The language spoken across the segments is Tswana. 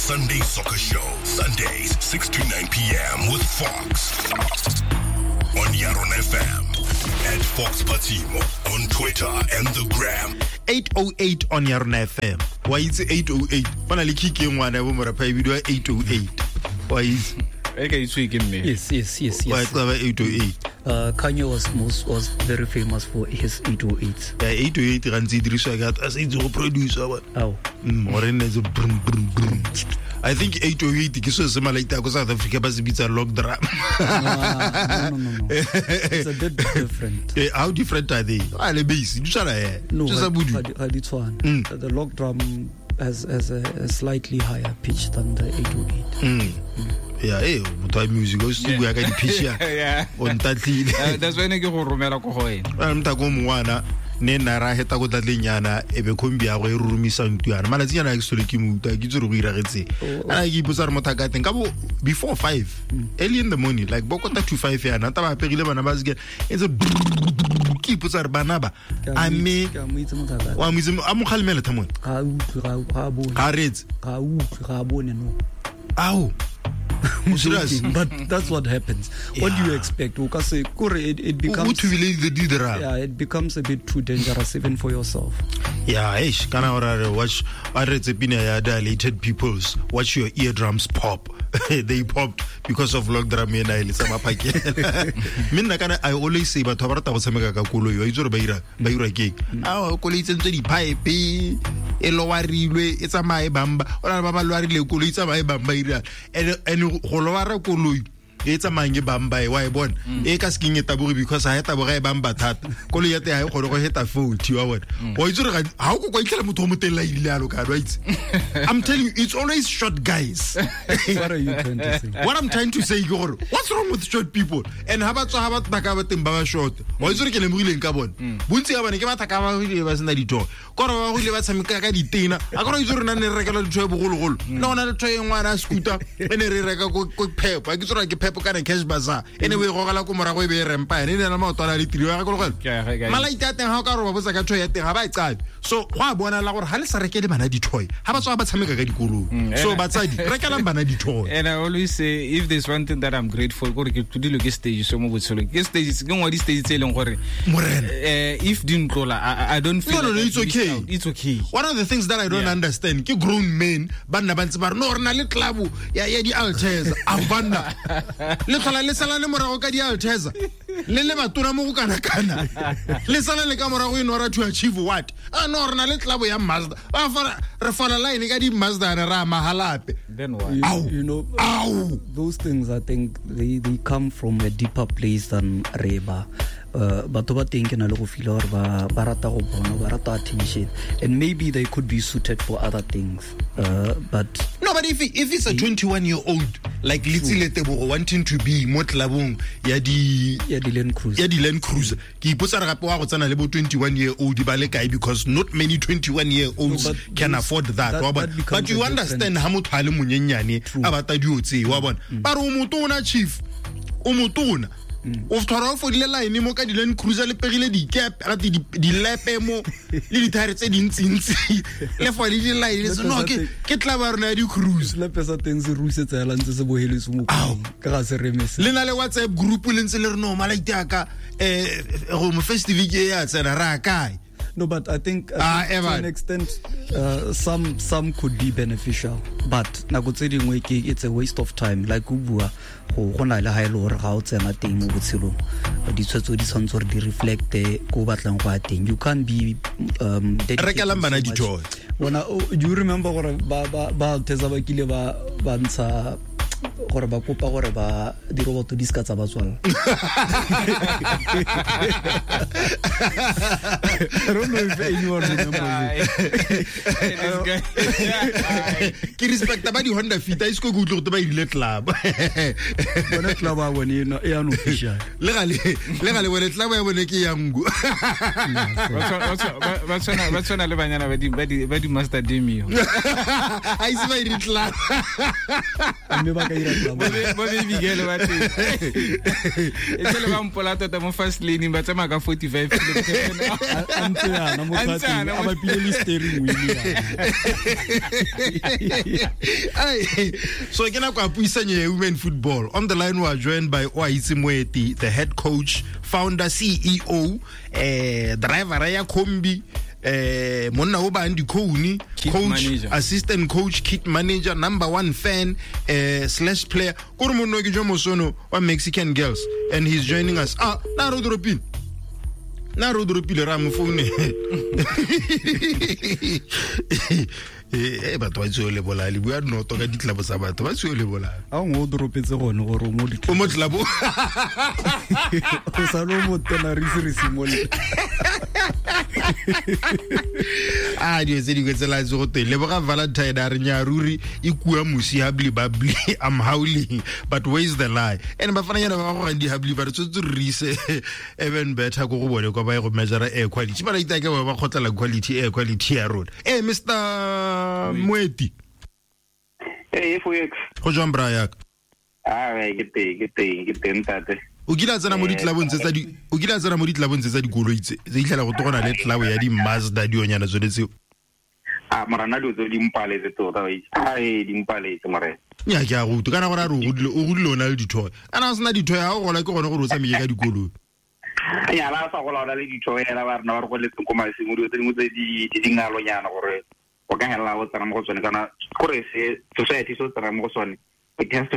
Sunday Soccer Show. Sundays, 6 to 9 p.m. with Fox. On Yaron FM. At Fox Patimo on Twitter and the Gram. 808 on Yarona FM. Wa itse 808. Go na le kick e ngwana ya bo morapha e bidiwa 808. Wa itse. E ka itswe ke mme. Yes. Wa tsaba 808. Kanye was very famous for his 808s. Ya 808 gantsi e dirisiwa ke a sa itse go producer wa. Ao. Gore nne tse brum brum brum. I think 808 ke selo se malaita ko South Africa ba se bitsa log drum. No. It's a bit different. How different are they? A le bass, di tshwana eh. No, Se sa budu. ga di tshwane. The log drum has a slightly higher pitch than the 808. Ya motho wa music o se bua ka di-pitch ya. O ntatlile. That's why ne ke go romela ko go wena. A motho ko mongwana ne nna ra heta ko tlatleng yana e be khombi ya go e rurumisa ntlo yana malatsi yana ke sole ke mo utlwa ke itse gore go iragetseng a ke ipotsa re motho a ka teng ka bo before 5 early in the morning like bo kota to 5 yana ta ba aperile bana ba seke e ntse ke ipotsa re bana ba a mme Ke a mo itse motho a ka. wa mo itse a mo kgalemele thamone Ga a utlwe, ga a bone. ga a reetse Ga a utlwe, ga a bone, no. Ao. Serious? But that's what happens. What do you Yeah. expect? O ka se kore it O becomes thubile di drum. Yeah, it becomes a bit too dangerous even for yourself. Yeah, eish, kana ora re watch a re tse pina ya Dilated Peoples, watch your eardrums pop. They popped because of log drum ena e le tsa maphakela. Mme nna kana I always say batho ba rata go tshameka ka koloi, wa itse gore ba ira keng. A koloi tsentswe di-pipe, e lowarilwe, e tsamaye bamba. O na le ba ba lowarile koloi e tsamaye bamba ira. And go lowara koloi e tsamayang e bamba e wa e bona e ka sekeng e taboge because ha e taboga e bamba thata koloi ya teng ha e kgone go heta 40 wa bona wa itse gore ha o ko kwa itlhela motho o motelele a ile yalo kana wa itse. I'm telling you, it's always short guys. What are you trying to say? What I'm trying to say ke gore what's wrong with short people? And ha ba tswa ha ba thaka ba teng ba ba short wa itse gore ke lemogileng ka bone bontsi ba bone ke ba thaka ba ile ba sena dithoe kore ba go ile ba tshameka ka ditena a kore itse gore nna ne re rekelwa dithoe bogologolo le gona le thoe e ngwana a scooter e ne re reka ko Pep a ke tsora ke Pep kana Cash Bazaar e ne o e gogela ko morago e be e rempa ene e ne na maotwana a le tiro ya gakologela malaiti a teng ga o ka roba botsa ka thoe ya teng ga ba e qabe so go a bonala gore ga le sa rekele bana dithoe ga ba tswa ba tshameka ka dikoloi so batsadi rekelang bana dithoe. And I always say, if there's one thing that I'm grateful gore ke tlodilwe ke stage so mo botshelong ke stage ke nngwe di stage tse e leng gore Morena. If di ntlola I don't feel No, like it's I've missed okay. out. It's okay. One of the things that I don't understand ke grown men ba nna ba ntse ba re no re na le club ya di-Alteza a banna le tlhola le sala le morago ka di-Alteza le le batona mo go kana-kana le sala le ka morago in order to achieve what? A no re na le club ya Mazda ba fara re fola line ka di-Mazda re a mahalape. Then what? Ow. You know, Ow. those things, I think they come from a deeper place than reba. Batho ba teng ke na le go feel gore ba rata go bona, ba rata attention, and maybe they could be suited for other things. But No, but if it's a 21-year-old like Letsile Tebogo wanting to be mo clubong ya di ya di Land Cruiser. Ya di Land Cruiser, ke ipotsa re gape wa go tsena le bo 21-year-old ba le kae because not many 21-year-olds No, but can those, afford that, wa bona. that becomes But you a understand different ha motho a le monyenyane a batla dio tse wa bona. Ba re o motona chief, o motona. O tshwara o fodile line mo ka di Land Cruiser le pegile dikepe ga dilepe mo le dithaere tse dintsintsi le fo le di-line se no ke tla ba rona ya di-cruise. Selepe sa teng se rusetsa hela ntse se boheletse mo Ao. koloing. Ka ga se remese. Le na le WhatsApp group le ntse le re no malaiti a ka go mo festive ke ya tsena ra kae. No, but I think, to Evan. an extent, some could be beneficial, but nako tse dingwe ke it's a waste of time. Like o bua, go na le ha e le gore ga o tsena teng mo botshelong, ditshwetso di tshwanetse gore di reflecte ko o batlang go ya teng. You can't be dedicated Rekelang bana so much. di-toy. Bona, do you remember gore ba Alteza ba kile ba ntsha gore ba kopa gore ba diroboto di ska tsa ba tswalla? I don't know if anyone remembers it. This guy. Ke respecta ba di-Honda Fit, a ise ko ke utlwe gote ba irile club. Bona club ya bone e unofficial. Le gale bone club ya bone ke ya nku. Ba tshwana le banyana ba di Master Demio. A ise ba ire club. Mme ba ka ira ya club. Bo baby girl ba teng. E tlele ba mpola tota mo fast lane ba tsamaya ka 45 kilometers. A ntse yana mo A ntse phateng, yana a mo- bapile le steering wheel yana. Ai, so ke nako ya puisanyo ya women football. On the line we are joined by Oaitse Moeti, the head coach, founder, CEO, driver ya kombi, monna o bang dikhone, Kit coach, manager. Assistant coach, kit manager, number one fan, slash player. Kore monna o ke jo mosono wa Mexican Girls, and he's joining us. Ah, na re o droppile. Na re o droppile ra mo foune. Eh, batho ba tseo le bolaya, le bua noto ka ditlabo tsa batho ba tseo le bolaya. A ngwe o dropetse gone gore o mo O mo tlabo. O sa le o mo tena re ise re simolole. A dilo tse dingwe tsela tse go teng leboga Valentine a re nya ruri e kua mosi habli babli, I'm howling, but where is the lie? And bafananyana ba go gang di habli ba re tshwanetse re ise even better ko go bone kwa ba ye go measure air quality, ba re itake ba ba kgotlela quality air quality ya rona. Mr Moeti. Ee, Foex. Go jwang, bra yaka? Ah, ke teng ntate. O kile a tsena mo ditlabong tse tsa di o kile a tsena mo ditlabong tse tsa dikoloi tse tse itlhela go togona le tlabo ya di-Mazda dionyana tsone tseo. Ah, morana, dilo tse di mpaletse tota wa itse. Ah, ee, di mpaletse, morena. Nya ke a go utlwa kana gore a re o godile o na le dithoe, kana o sena dithoe ga o gola ke gone gore o tsamaye ka dikoloi. Ya la sa gola o na le ditho ela ba rena ba re goletseng ko masimo, dilo tse dingwe tse di dingalonyana gore o ka helela o tsena mo go tsone, kana kore se society se o tsena mo go sone, it has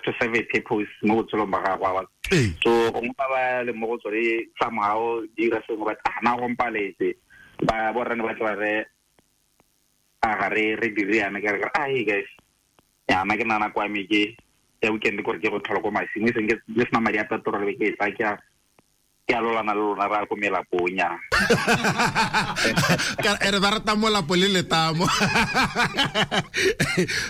to serve a purpose mo botshelong ba gago wa. So gongwe ba ba le mo go tsone somehow di dira sengwe, but ah, na go mpaletse ba borrane ba tla ba re a ga re dire yana, ke re ah, hey guys, ya na ke nana kwa me ke ya weekend gore ke go tlhola ko masimo, e seng ke le sena madi a petrol, be ke e tsa ke a lolana le lona ra ko melapong ya. Ka ere ba rata molapo le letamo.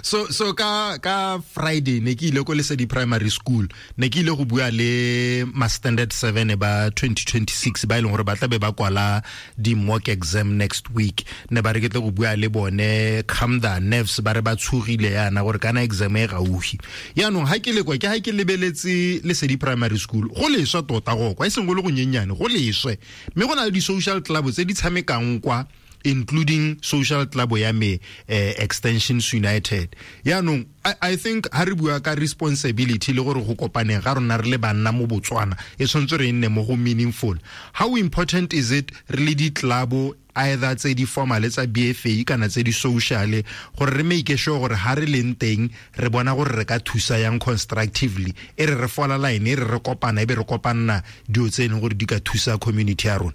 So ka Friday ne ke ile ko Lesedi Primary School, ne ke ile go bua le ma standard 7 ba 2026 ba e leng gore ba tla be ba kwala di mock exam next week. Ne ba re ke tle go bua le bone, calm the nerves, ba re ba tshogile yana gore kana exam e gaufi. Yaanong ha ke le kwa ke ha ke lebeletse Lesedi Primary School, go leswe tota go kwa, e seng go le go nyenyane, go leswe, mme go na le di-social club tse di tshamekang kwa, including social club ya me, Extensions United. Yaanong I think ha re bua ka responsibility le gore go kopaneng ga rona re le banna mo Botswana e tshwanetse re nne mo go meaningful, how important is it re le di-club, either tse di formal tsa BFA kana tse di social, gore re make sure gore ha re leng teng re bona gore re ka thusa yang constructively, e re re fola line, e re re kopana e be re kopanna dilo tse e leng gore di ka thusa community ya rona?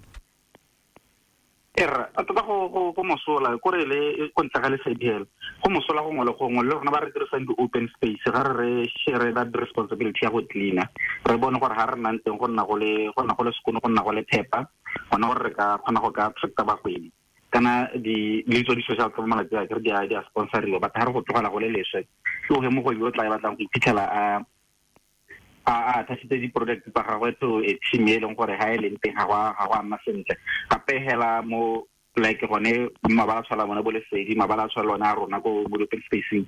Erra, a tota go mosola kore le ko ntle ga Lesedi hela, go mosola gongwe le gongwe le rona ba re dirisang di-open space, ga re share that responsibility ya go cleaner, re bone gore ga re nnang teng go nna go le sekono, go nna go le phepa gona, gore re ka kgona go ka attracta bagwebi kana di le tso di-social club. Malatsi a kere di a sponsoriwa, but ga re go tlogela go le leswe, ke oge mogwebi o tla e batlang go iphitlhela a attachitse di-product tsa gagwe to a team e leng gore ga e leng teng ga go a nna sentle. Gape hela mo like gone mabala a tshwala bone bo Lesedi, mabala a tshwala one a rona ko mo di-open spacing,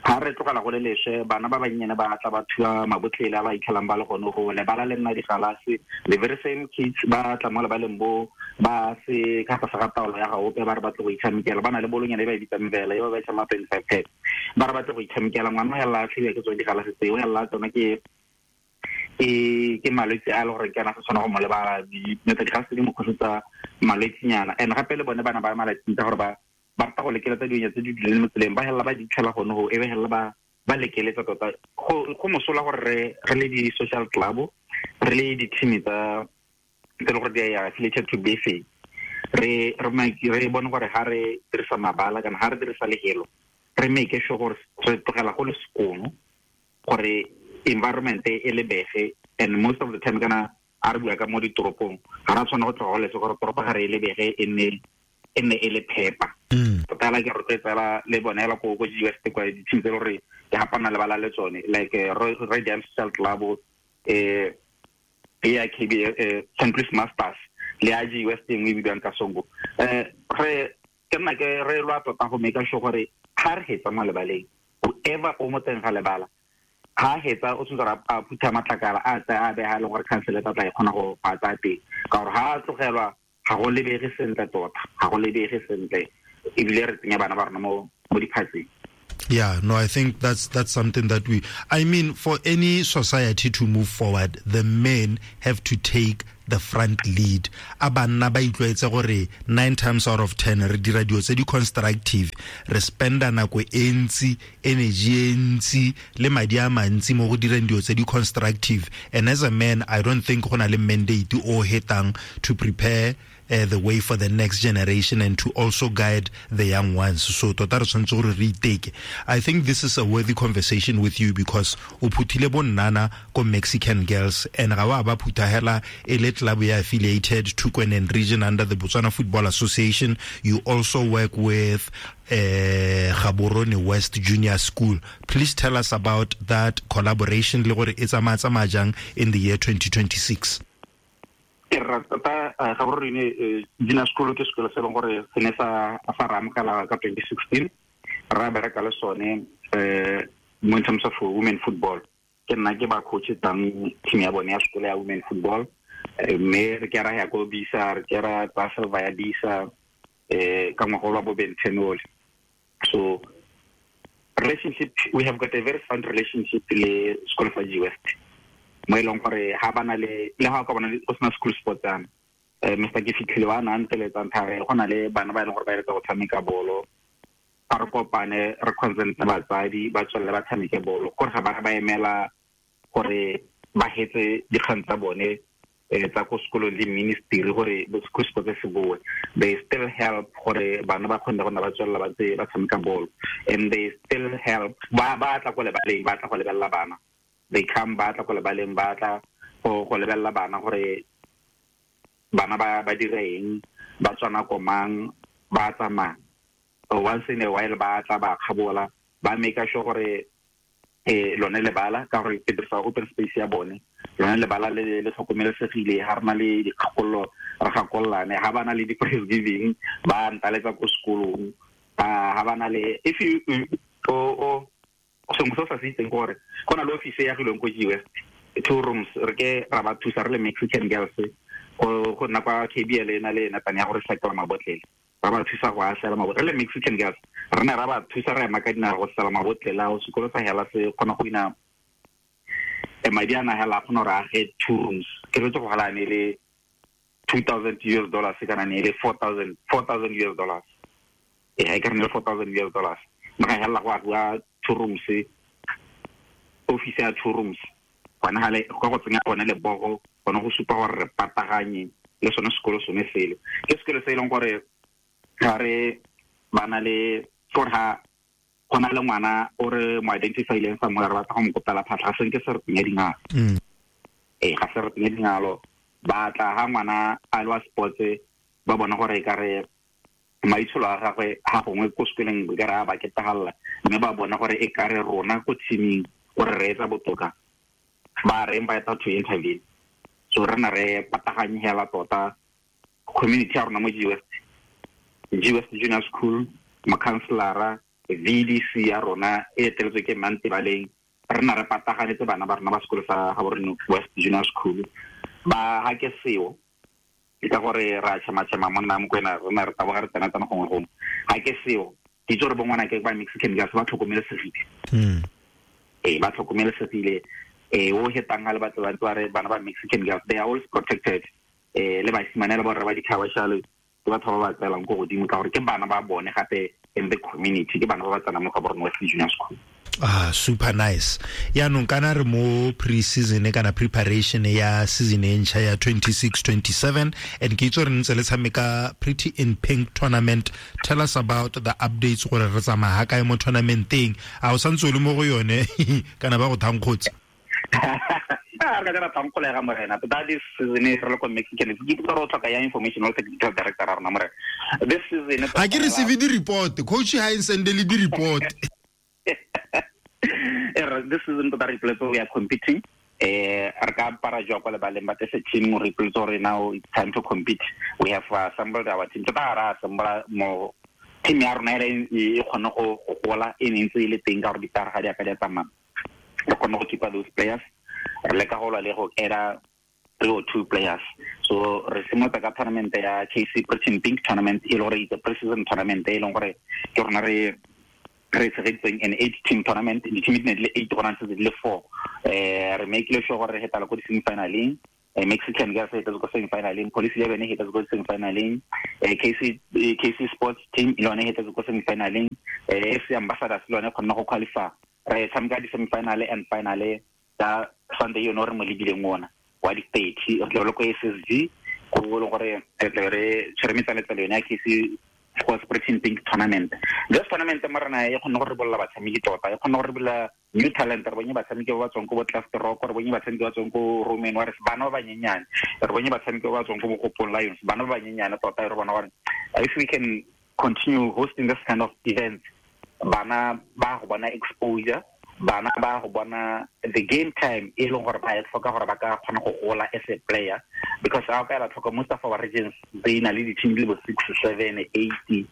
ga re tlogela go le leswe, bana ba bannyane ba tla ba thuba mabotlele a ba itlhelang ba le gone go lebala le nna digalase. The very same kids ba tla mo lebaleng bo ba se ka tlase ga taolo ya gaope, ba re batle go itshamekela, ba na le bolonyana e ba e bitsang vela e ba ba e tshama 25 pet, ba re batle go itshamekela. Ngwana o helela a tlhiwa ke tsone digalase tseo, o helela tsona ke malwetse a e le gore ke ana se tshwana go mo lebala dinota digalase tse di mo kgosetsa malwetsinyana. And gape le bone bana ba malatsing tsa gore ba rata go lekeletsa dinya tse di duleng mo tseleng, ba helela ba di tlhela gone go e be helela ba lekeletsa tota. Go mosola gore re le di-social club, re le di-team tse le gore di ya affiliated to BFA, re bone gore ga re dirisa mabala kana ga re dirisa lehelo, re make sure gore re tlogela go le sekono gore environment e lebege. And most of the time kana a re bua ka mo ditoropong, ga ra tshwana go tloga go leswe gore toropo ga re e lebege e nne e le phepa tota. Hela ke rotloetsa le bone hela ko GWest kwa di-team tse e le gore ke gapana lebala le tsone, like Radiant Social Club, ya KB, St. Louis Masters le ya GWest e nngwe e bidiwang ka Songo. Re ke nna ke re lwa tota go make sure gore ga re hetsa mo lebaleng, whoever o mo teng ga lebala Ha hetsa o tshwanetse gore a phutha matlakala a tsaya a beha e leng gore council e tla e kgona go a tsaya teng, ka gore ha a tlogelwa ga go lebege sentle tota, ga go lebege sentle, ebile re tsenya bana ba rona mo diphatseng. Yeah, no, I think that's something that for any society to move forward, the men have to take the front lead. A banna ba itlwaetse gore 9 times out of 10 re dira dilo tse di constructive, re spenda nako e ntsi, energy e ntsi le madi a mantsi mo go direng dilo tse di constructive. And as a man, I don't think go na le mandate o hetang to prepare the way for the next generation and to also guide the young ones. So tota re tshwanetse gore re iteke. I think this is a worthy conversation with you because o phuthile bonnana ko Mexican Girls, and ga wa ba phutha hela e le club ya affiliated to Kweneng region under the Botswana Football Association. You also work with Gaborone West Junior School. Please tell us about that collaboration le gore e tsamaya jang in the year 2026. Tota Gaborone Junior School ke sekolo se leng gore se ne sa re amogela ka 2016, ra bereka le sone mo in terms of women football. Ke nna ke ba coach tang team ya bone ya sekolo ya women football, mme re ke ra ya ko bisa, re ke ra tsa silver ya bisa ka ngwaga wa bobedi 10. So relationship, we have got a very sound relationship le sekolo sa G West, mo e leng gore ha bana le ha ka bona go sena school sports ana, Mr. Ke fitlhile wa na nteletsang thare go na le bana ba e leng gore ba eletsa go tshameka bolo, a re kopane re consent batsadi ba tswelele ba tshameke bolo, gore ga ba emela gore ba hetse dikgang tsa bone tsa ko sekolong le ministry gore school sports se boe. They still help gore bana ba kgone go nna ba tswelela ba tse ba tshameka bolo, and they still help ba tla ko lebaleng, ba tla go lebelela bana. They come ba tla ko lebaleng, ba tla go lebelela bana gore bana ba dira eng, ba tswana ko mang, ba tsamaya. Once in a while ba tla ba kgabola, ba make sure gore lone lebala, ka gore ke dirisa open space ya bone, lone lebala le tlhokomelesegile, ha re na le dikgakololo re gakololane, ha ba na le di-prize giving ba ntaletsa ko sekolong, ha ba na le if you o sengwe se o sa se itseng gore go na le office e agilweng ko G West, 2 rooms, re ke ra ba thusa re le Mexican Girls go nna kwa KBL e na le natane ya go recycle mabotlele, ra ba thusa go a sela mabotlele. Re le Mexican Girls re ne ra ba thusa re ema ka dinao go sela mabotlele ao, sekolo sa hela se kgona go ina madi a na hela a kgona gore age 2 rooms. Ke retse go gala ne le $2,000 kana ne le $4,000 US. E ka re ne le $4,000 US. Mme ga hela go agiwa 2 rooms, office ya 2 rooms. Gona gale ka go tsenya gone lebogo, gone go supa gore re pataganye le sone sekolo sone sele. Ke sekolo se e leng gore ga re bana le gore ha go na le ngwana o re mo identify-ileng somewhere, re batla go mo kopela phatlha, ga senke se re tsenya dingalo. Ga se re tsenya dingalo, ba tla ha ngwana a le wa sports, ba bona gore e ka re maitsholo a gagwe ha gongwe ko sekoleng e ka re a ba ketagalla, mme ba bona gore e ka re rona ko teaming gore re etsa botoka, ba re invite to intervene. So re na re pataganye hela tota community ya rona mo G West, G West Junior School, makhanselara, VDC ya rona e eteletswe ke Mantebaleng, re na re pataganetse bana ba rona ba sekolo sa Gaborone West Junior School. Ba ha ke seo ke ka gore ra tšhema-tšhema monna Mokwena, re na re taboga re tsena-tsena gongwe gongwe. Ha ke seo ke itse gore bo ngwana ke ba Mexican Girls ba tlhokomelesegile. Ba tlhokomelesegile. O hetang ha le batho ba re bana ba Mexican Girls, they are always protected. Le basimane le borre ba dikgabashale ke batho ba ba tseelang ko godimo, ka gore ke bana ba bone gape in the community, ke bana ba ba tsenang mo Gaborone West Junior School. Ah, super nice. Yaanong kana re mo pre-season kana preparation ya season e ntšha ya 26-27, and ke itse gore ntse le tshameka Pretty in Pink tournament. Tell us about the updates gore re tsamaya ha kae mo tournamenteng. A o santse o le mo go yone kana ba go thankgotse? Re ka dira thankgolega morena. Tota this season re le ko Mexican, ke itse gore o tlhoka ya information all technical director ra rona morena. This season ha ke receive di-report, coach ha e sendele di-report. This season tota re ipoletse we are competing. Re ka apara jwa kwa lebaleng, but as a team re ipoletse gore now it's time to compete. We have assembled our team. Tota ga ra assemble mo team ya rona e kgone go gola, e ne ntse e le teng ka gore ditara ga di a ka di a tsamaya. Re kgone go keepa those players, re leka go lwa le go add 3 or 2 players. So re simolotsa ka tournament ya KC Pretty Pink tournament, e le gore it's a pre-season tournament e leng gore ke rona re tshegeditseng an 8 team tournament. Di-team di ne di le 8, gona ntse di le 4. Re make-ile sure gore re hetala ko di-semifinaleng. Mexican Girls hetetse ko semifinaleng, Police 11 hetetse ko semifinaleng, KC Sports team le yone hetetse ko semifinaleng, FC Ambassadors le yone kgonne go qualify. Re tshameka di-semifinale and finale tsa Sunday yone re mo lebileng ona wa di-30, re tla le ko SSG go le gore re tla re tshwere metsaletsale yone ya KC Sports Pretty Pink tournament. This tournament mo rena e kgonne go re bolla batshameki tota, e kgonne go re bolla new talent. Re bonye batshameki ba ba tswang ko bo Cluster Rock, re bonye batshameki ba tswang ko Roman Warriors, bana ba banyenyane, re bonye batshameki ba ba tswang ko Bogopong Lions, bana ba banyenyane tota. Re bona gore if we can continue hosting this kind of events, bana ba go bona exposure, bana ba go bona the game time e leng gore ba e tlhoka gore ba ka kgona go gola as a player. Because ga o ka ela tlhoko, most of our regions they na le di-team di le bo 6, 7, 8,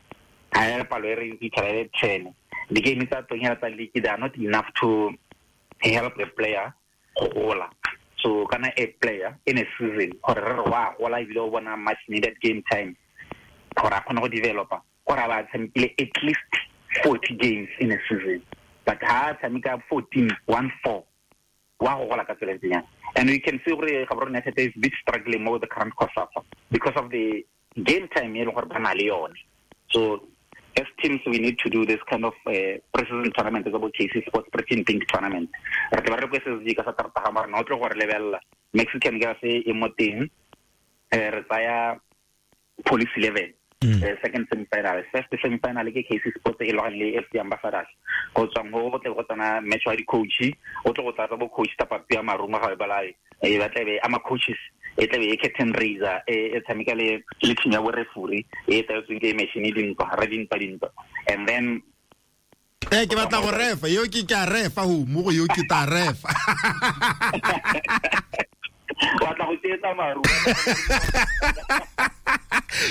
ga e palo e re fitlhela e le 10. Di-game tsa teng hela tsa league, they are not enough to help a player go gola. So kana a player in a season gore re re wa gola ebile o bona much needed game time gore a kgone go developa, gore a ba tshamekile at least 40 games in a season. But ha tshameka 14, 1-4, wa go gola ka tsela e ntseng jang. And we can see gore Gaborone United is a bit struggling more with the current COSAFA because of the game time e leng gore ba na le yone. So as teams, we need to do this kind of pre-season tournament, tsa bo KC Sports Pretty Pink tournament. Re tla ba re ko SSG ka Satertaga, mara no tlo gore lebella Mexican Girls e mo teng. Re tsaya Police 11. Second semi-final, first semi-final ke KC Sports e logane le FC Ambassadors. Go tswang go tle go tsena match wa di-coach, o tle go tlatsa bo coach Tapapi ya Maruma ga e balae, e ba tlabe ama coaches, e tlabe e curtain raiser, e tshameka le team ya bo referee, e tlaetsweng ke machine dintwa, re dintwa. And then ke batla go refa, yo ke a refa ho mo go yo ke ta refa. Batla go tsetsa Maruma.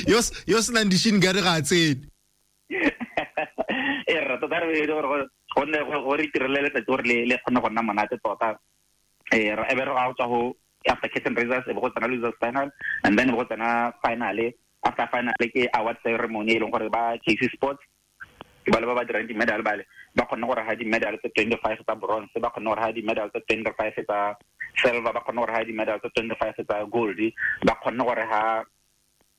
Yo senang di-shin guard ga a tsene. E re tota re gore gonne go re itirele letsatsi gore le kgone go nna monate tota. E be re ga go tswa go after curtain raisers, e be go tsena losers final, and then e be go tsena finale. After finale ke award ceremony e leng gore ba KC Sports ba le ba ba dirang di-medal bale ba kgonne gore ha di-medal tse 25 tsa bronze, ba kgonne gore ha di-medal tse 25 tsa silver, ba kgonne gore ha di-medal tse 25 tsa gold, ba kgonne gore ha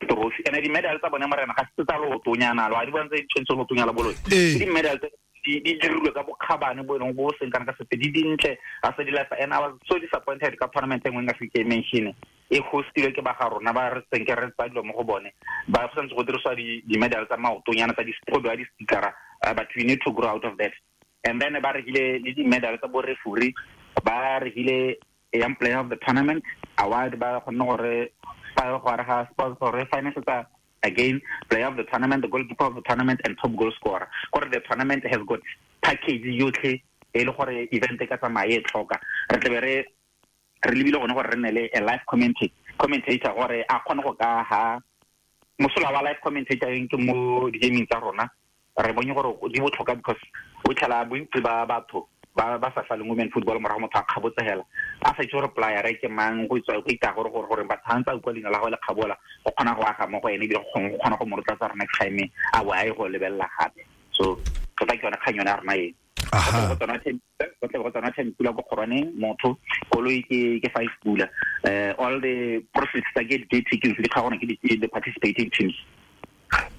trophy. And di-medal tsa bone morena ga se tsa lootonyana, lo a di bona tse di tshwanetse lootonyana boloi. Ke di-medal tse di dirilwe ka bokgabane bo e leng bo seng kana ka sepe, di dintle ga se di lafa. And I was so disappointed ka tournament e nngwe nka se ke mention, e hostilwe ke ba ga rona ba re seng ke re tsa dilo mo go bone, ba go santse go dirisiwa di-medal tsa maotonyana tsa go bewa di-stickera, but we need to grow out of that. And then ba rekile le di-medal tsa bo referee, ba rekile young player of the tournament award, ba kgonne gore ga sponsor re finance tsa again player of the tournament, the goalkeeper of the tournament, and top goal scorer. Gore the tournament has got package yotlhe e le gore event e ka tsamaya e tlhoka. Re tlabe re lebile gone gore re nne le a live commentator gore a kgone go ka ha mosola wa live commentator ke mo di-gaming tsa rona. Re bonye gore di botlhokwa because o tlhela bontsi ba batho ba sa saleng women football morago motho a kgabotse hela a sa itse gore player ke mang, go itswa go ita gore gore batho ha ntse a utlwa leina la gagwe le kgabola go kgona go aga mo go ene ebile go kgona go mo rotloetsa gore next time a bo a ye go lebelela gape. So tota ke yone kgang yone ya rona e. Go tle go tsena 10 pula ko kgorwaneng motho koloi ke 5 pula. All the profits tsa ke di tickets di kgagona ke the participating teams.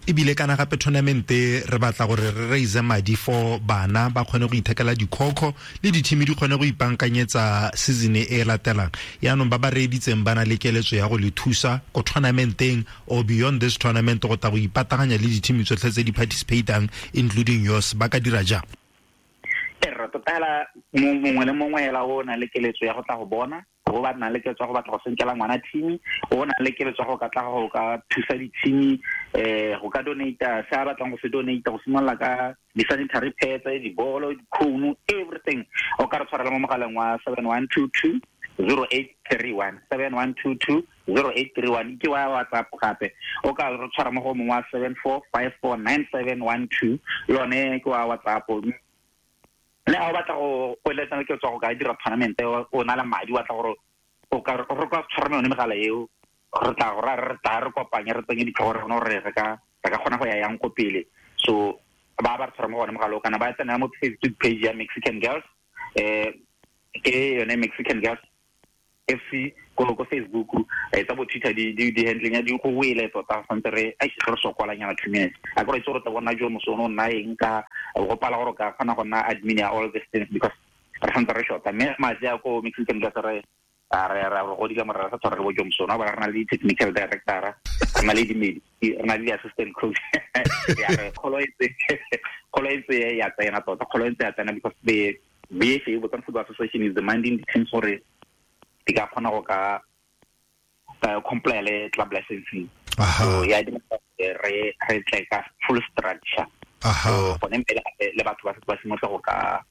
Ebile kana gape tournament re batla gore re raise madi for bana ba kgone go ithekela dikhokho le di-team di kgone go ipankanyetsa season e latelang. Yaanong ba ba reeditseng ba na le keletso ya go le thusa ko tournamenteng or beyond this tournament go tla go ipataganya le di-team tsotlhe tse di participatang including yours, ba ka dira jang? E re tota hela mongwe le mongwe hela o na le keletso ya go tla go bona, o ba nang le keletso ya go batla go senkela ngwana team, o na le keletso ya go ka tla go ka thusa di-team, go ka donate se a batlang go se donate, go simolola ka di-sanitary pads, dibolo, dikhouno, everything. O ka re tshwarela mo mogaleng wa 7122 0831, 7122 0831 ke wa WhatsApp. Gape o ka re tshwara mo go mongwe wa 74549712, le one ke wa WhatsApp. Le ha o batla go eletsa ke tswa go ka dira tournament o na le madi wa tla gore o ka re ka tshwara yone megala eo re tla go re tla re kopanye re tsenye ditlhogo re gore re ka kgona go ya yang ko pele. So ba re tshwara mo gone mogala o kana ba tsena mo Facebook page ya Mexican Girls, ke yone Mexican Girls FC ko Facebook, tsa bo Twitter di handling ya di go wele tota santse re a re sokolanyana 2 minutes a go itse gore tla bona jo mosono nna eng ka go pala gore ka kgona go nna admin ya all these things because re santse re shota mme matsi a ko Mexican Girls re re go di ka morara sa tshwara re bo jo mosono ba re na le technical director, re na le di re na le assistant coach ya re kholo itse ya tsena tota kholo itse ya tsena because the BFA Botswana Football Association is demanding the teams gore di ka kgona go ka comply le club licensing. So ya di re tle ka full structure. So gone mme le batho ba simolola go ka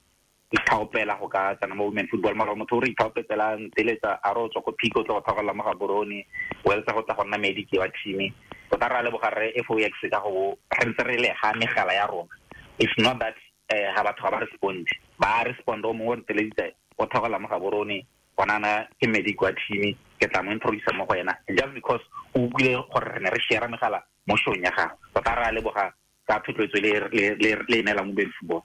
ithaopela go ka tsena mo women football mara motho o re ithaopetsela nteletsa a re o tswa ko Pico tla go tlhagela mo Gaborone o eletsa go tla go nna medic wa team tota re a leboga re FOX ka go re ntse re le ga megala ya rona. It's not that ha batho ga ba respond, ba respond o mongwe o nteleditse o tlhagela mo Gaborone bona ke medic wa team ke tla mo introduce mo go yena just because o utlwile gore re ne re share megala mo showng ya gagwe. Tota re a leboga ka thotloetso le neela mo women football.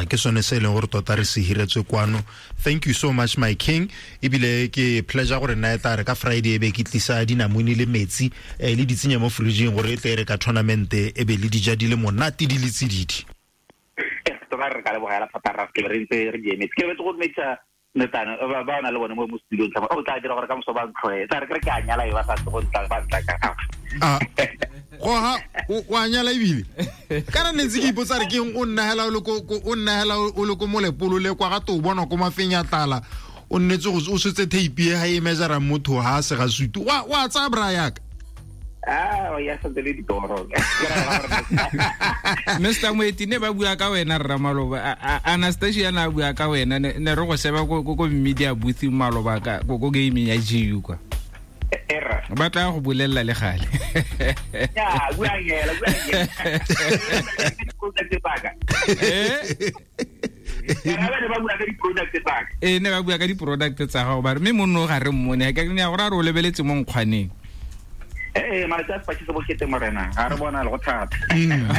Ke sone se e leng gore tota re se hiretswe kwano. Thank you so much my king. Ebile ke pleasure gore nna e tla re ka Friday e be ke tlisa dinamune le metsi le di tsenya mo fridging gore e tle re ka tournament e be le dija di le monate di le tsididi. Tota re ka lebogela thata ra ke re ntse re di emetse. Ke betse go dumedisa netana ba na le bone mo studio tla o tla dira gore ka moso ba ntlhoe tla re ke a nyala e ba sa go ntla ba ntla ka go ha o a nyala ebile kana ne ntse ke ipotsa re ke o nna hela o le ko o nna hela o le ko molepolo le kwa ga to bona ko mafenya tlala o nnetse go o setse tape e ha e measure motho ha se ga sutu wa tsa bra yaka. Ya santse le ditoro. Mr. Moeti ne ba bua ka wena rra maloba Anastasia na bua ka wena ne re go seba ko media booth maloba ka ko gaming ya GU kwa. Era ba tla go bolella le gale. Ya bua ngela ne ba bua ka di-product tsa gago ba re mme monno ga re mmone ka ne ya gore a re o lebeletse mo nkgwaneng. Malatsi a sepatšhe se bokete morena ga re bona le go thata.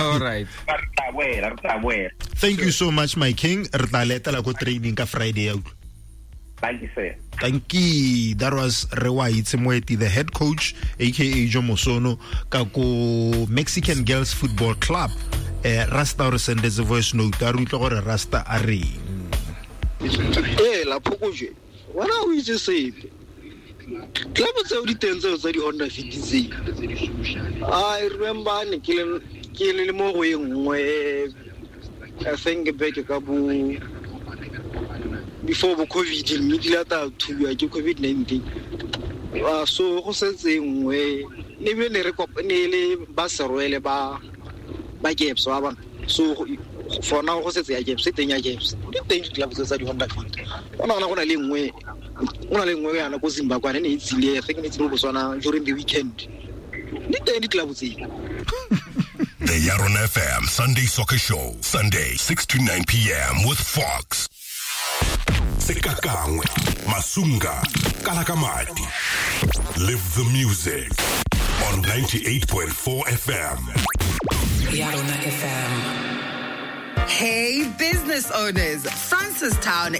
All right. Re tla boela. Thank you so much my king. Re tla letela ko training ka Friday ya utlwa. Thank you sir. Thank you. That was Rewaitse Moeti, the head coach aka Jomo Sono ka ko Mexican Girls Football Club. Rasta o re sendetse voice note a re utlwa gore Rasta a reng. La phokojwe wena o itse sepe club tseo di teng tseo tsa di-Honda Fit tse. I remember ne ke le mo go e nngwe I think back ka bo before bo COVID mme di lata thubiwa ke COVID-19. So go setse nngwe ne be ne re kopane le ba Serwele ba Gaps wa bona. So for now go setse ya Gaps teng ya Gaps di teng di-club tseo tsa di-Honda Fit. Ona go na le nngwe o na le nngwe yana ko Zimbabwe ne e tsile I think ne tsile Botswana during the weekend. Di teng di-club tse. The Yaron FM Sunday Soccer Show, Sunday 6 to 9 p.m. with Fox. Sekakangwe, Masunga, Kalakamati. Live the music on 98.4 FM. Yaron FM. Hey, business owners, Francistown